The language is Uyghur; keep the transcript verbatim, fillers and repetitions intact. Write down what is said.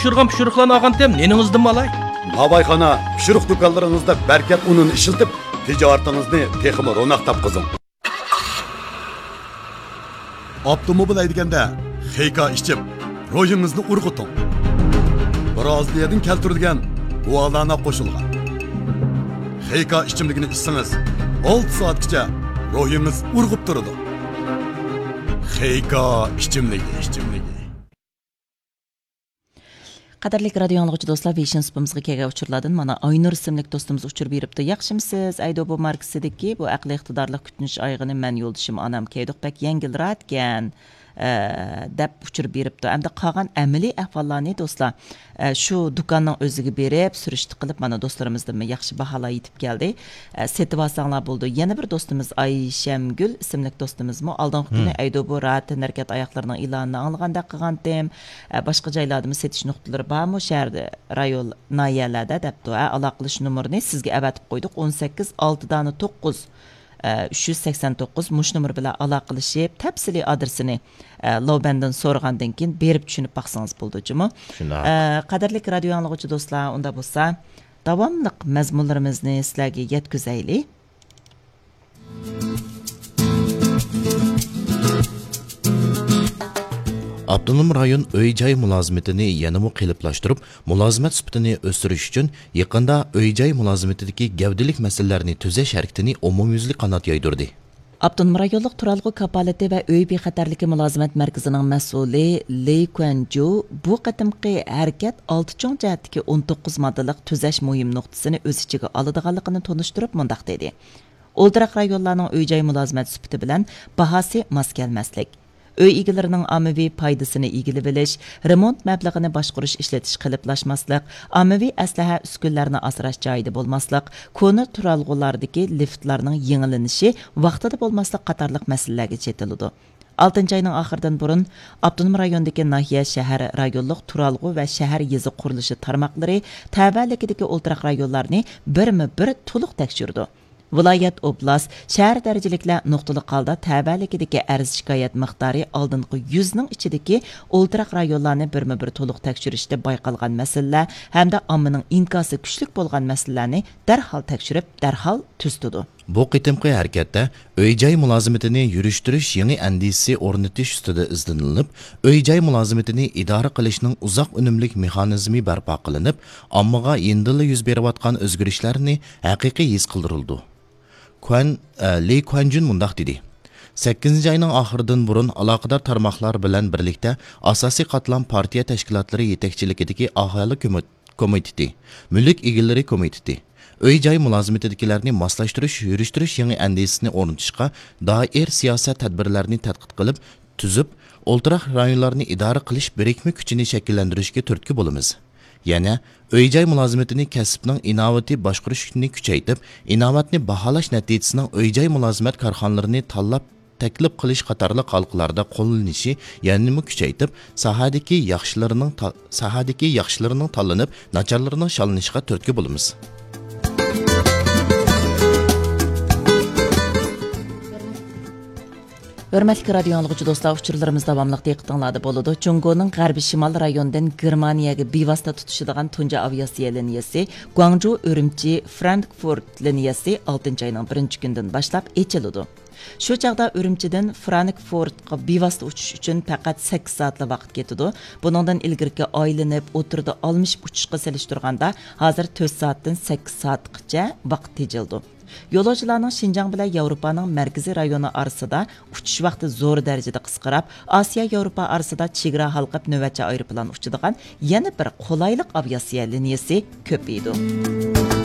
پىشۇرغان پىشۇرۇقلارنى ئالغانتىم، نېنىڭىزدىنمۇ ئالاي؟ ناۋايخانا، پىشۇرۇق دۇكانلىرىڭىزدا بەرىكەت ئۇنىنى ئىشلىتىپ، تىجارىتىڭىزنى تېخىمۇ روناق تاپقۇزۇڭ. ئاپتوموبىل ھەيدىگەندە خېيكا ئىچىپ، روھىڭىزنى ئۇرغۇتۇڭ. برازىلىيەدىن كەلتۈرۈلگەن گۇالانا قوشۇلغان خېيكا ئىچىملىكىنى ئىچسىڭىز، ئالتە سائەتكىچە روھىڭىز ئۇرغۇپ تۇرىدۇ. خېيكا ئىچىملىكى، ئىچىملىكى. قەدىرلىك رادىيو ئاڭلىغۇچى دوستلار، ۋېيشىن سۇپىمىزغا كەلگەن ئۇچۇرلاردىن مانا ئاينۇر ئىسىملىك دوستىمىز ئۇچۇر بېرىپتۇ. ياخشىمۇ سىز؟ ئەيدوبو ماركىسىدىكى بۇ ئەقلىي ئىقتىدارلىق كۈتۈنۈش ئايىغىنى مەن يولدىشىم ئانام كىيدۇق، بەك يەڭگىل راھەتكەن، ئە، دەپ ئۇچۇر بېرىپتۇ. ئەمدى قالغان ئەمەلىي ئەھۋاللارنى دوستلار، ئە، شۇ دۇكاننىڭ ئۆزىگە بېرىپ سۈرۈشتە قىلىپ، مانا دوستلىرىمىزدىنمۇ ياخشى باھالار يېتىپ كەلدى. ئە، سېتىۋالساڭلار بولىدۇ. يەنە بىر دوستىمىز ئايشەمگۈل ئىسىملىك دوستىمىزمۇ ئالدىنقى كۈنى ئەيدوبو راھەت تەنھەرىكەت ئاياغلىرىنىڭ ئېلانىنى ئاڭلىغاندەك قىلغانتىم. ئە، باشقا جايلاردىمۇ سېتىش نۇقتىلىرى بارمۇ شەھەردە، رايون، ناھىيەلەردە دەپتۇ. ئە، ئالاقىلىشىش نومۇرىنى سىزگە ئەۋەتىپ قويدۇق. ئون سەككىز ئالتە دانە توققۇز، ئە، ئۈچ يۈز سەكسەن توققۇز مۇشۇ نومۇر بىلەن ئالاقىلىشىپ، تەپسىلىي ئادرېسىنى، ئە، لوبەندىن سورىغاندىن كېيىن بېرىپ چۈشىنىپ باقسىڭىز بولىدۇ جۇمۇ. شۇنداق. ئە، قەدىرلىك رادىيو ئاڭلىغۇچى دوستلار، ئۇنداق بولسا، داۋاملىق مەزمۇنلىرىمىزنى سىلەرگە يەتكۈزەيلى. ئاپتونوم رايون ئۆي-جاي مۇلازىمىتىنى يەنىمۇ قېلىپلاشتۇرۇپ، مۇلازىمەت سۈپىتىنى ئۆستۈرۈش ئۈچۈن يېقىندا ئۆي-جاي مۇلازىمىتىدىكى گەۋدىلىك مەسىلىلەرنى تۈزەش ھەرىكىتىنى ئومۇميۈزلۈك قانات يايدۇردى. ئاپتونوم رايونلۇق تۇرالغۇ كاپالىتى ۋە ئۆي بىخەتەرلىكى مۇلازىمەت مەركىزىنىڭ مەسئۇلى لى كۇەنجۇ بۇ قېتىمقى ھەرىكەت ئالتە چوڭ جەھەتتىكى ئون توققۇز ماددىلىق تۈزەش مۇھىم نۇقتىسىنى ئۆز ئىچىگە ئالىدىغانلىقىنى تونۇشتۇرۇپ مۇنداق دېدى: ئولتۇراق رايونلارنىڭ ئۆي-جاي مۇلازىمەت سۈپىتى بىلەن باھاسى ماس كەلمەسلىك، ئۆي ئىگىلىرىنىڭ ئاممىۋى پايدىسىنى ئىگىلىۋېلىش، رېمونت مەبلىغىنى باشقۇرۇش ئىشلىتىش قېلىپلاشماسلىق، ئاممىۋى ئەسلىھە ئۈسكۈنىلەرنى ئاسراش جايىدا بولماسلىق، كونا تۇرالغۇلاردا لىفتلارنىڭ يېڭىلىنىشى ۋاقتىدا بولماسلىق قاتارلىق مەسىلىلەرگە چېتىلىدۇ. ئالتىنچى ئاينىڭ ئاخىرىدىن بۇرۇن ئاپتونوم رايوندىكى ناھىيە، شەھەر، رايونلۇق تۇرالغۇ ۋە شەھەر، يېزا قۇرۇلۇشى تارماقلىرى تەۋەلىكىدىكى ئولتۇراق رايونلارنى بىرمۇ بىر تولۇق تەكشۈرىدۇ. ۋىلايەت، ئوبلاست، شەھەر دەرىجىلىكلەر نۇقتىلىق ھالدا تەۋەلىكىدىكى ئەرز-شىكايەت مىقدارى ئالدىنقى يۈزنىڭ ئىچىدىكى ئولتۇراق رايونلارنى بىرمۇ بىر تولۇق تەكشۈرۈشتە بايقالغان مەسىلىلەر ھەمدە ئاممىنىڭ ئىنكاسى كۈچلۈك بولغان مەسىلىلەرنى دەرھال تەكشۈرۈپ، دەرھال تۈزىتىدۇ. بۇ قېتىمقى ھەرىكەتتە ئۆي-جاي مۇلازىمىتىنى يۈرۈشتۈرۈش يېڭى ئەندىزىسى ئورنىتىش ئۈستىدە ئىزدىنىلىپ، ئۆي-جاي مۇلازىمىتىنى ئىدارە قىلىشنىڭ ئۇزاق ئۈنۈملۈك مېخانىزمى بەرپا قىلىنىپ، ئاممىغا يېنىدىنلا يۈز بېرىۋاتقان ئۆزگىرىشلەرنى ھەقىقىي ھېس قىلدۇرۇلىدۇ. كۇەن، ئە، لى كۇەنجۈن مۇنداق دېدى: سەككىزىنچى ئاينىڭ ئاخىرىدىن بۇرۇن ئالاقىدار تارماقلار بىلەن بىرلىكتە ئاساسىي قاتلام پارتىيە تەشكىلاتلىرى يېتەكچىلىكىدىكى ئاھالە كۆمۈ-، كومىتېتى، مۈلۈك ئىگىلىرى كومىتېتى، ئۆي-جاي مۇلازىمىتىدىكىلەرنى ماسلاشتۇرۇش، يۈرۈشتۈرۈش يېڭى ئەندىزىسىنى ئورنىتىشقا دائىر سىياسەت تەدبىرلەرنى تەتقىق قىلىپ، تۈزۈپ، ئولتۇراق رايونلارنى ئىدارە قىلىش بىرىكمە كۈچىنى شەكىللەندۈرۈشكە تۈرتكە بولىمىز. يەنە ئۆي-جاي مۇلازىمىتىنى كەسىپنىڭ ئىناۋىتى باشقۇرۇشنى كۈچەيتىپ، ئىناۋەتنى باھالاش نەتىجىسىنىڭ ئۆي-جاي مۇلازىمەت كارخانىلىرىنى تاللاپ تەكلىپ قىلىش قاتارلىق ھالقىلاردا قوللىنىشى يەنىمۇ كۈچەيتىپ، ساھەدىكى ياخشىلىرىنىڭ تا-، ساھەدىكى ياخشىلىرىنىڭ تاللىنىپ، ناچارلىرىنىڭ شاللىنىشىغا تۈرتكە بولىمىز. ھۆرمەتلىك رادىيو ئاڭلىغۇچى دوستلار، ئۇچۇرلىرىمىز داۋاملىق دىققىتىڭلاردا بولىدۇ. جۇڭگونىڭ غەربىي شىمال رايونىدىن گېرمانىيەگە بىۋاسىتە تۇتىشىدىغان تۇنجى ئاۋىئاتسىيە لىنىيەسى گۇاڭجۇ ئۈرۈمچى فرانكفورت لىنىيەسى ئالتىنچى ئاينىڭ بىرىنچى كۈنىدىن باشلاپ ئېچىلىدۇ. شۇ چاغدا ئۈرۈمچىدىن فرانكفورتقا بىۋاسىتە ئۇچۇش ئۈچۈن پەقەت سەككىز سائەتلا ۋاقىت كېتىدۇ. بۇنىڭدىن ئىلگىرىكى ئايلىنىپ، ئوتتۇرىدا ئالمىشىپ ئۇچۇشقا سېلىشتۇرغاندا، ھازىر تۆت سائەتتىن سەككىز سائەتقىچە ۋاقىت تېجىلىدۇ. يولۇچىلارنىڭ شىنجاڭ بىلەن ياۋروپانىڭ مەركىزىي رايونى ئارىسىدا ئۇچۇش ۋاقتى زور دەرىجىدە قىسقىراپ، ئاسىيا ياۋروپا ئارىسىدا چېگرا ھالقىپ نۆۋەتچى ئايروپىلان ئۇچىدىغان يەنە بىر قولايلىق ئاۋىئاتسىيە لىنىيەسى كۆپىيىدۇ.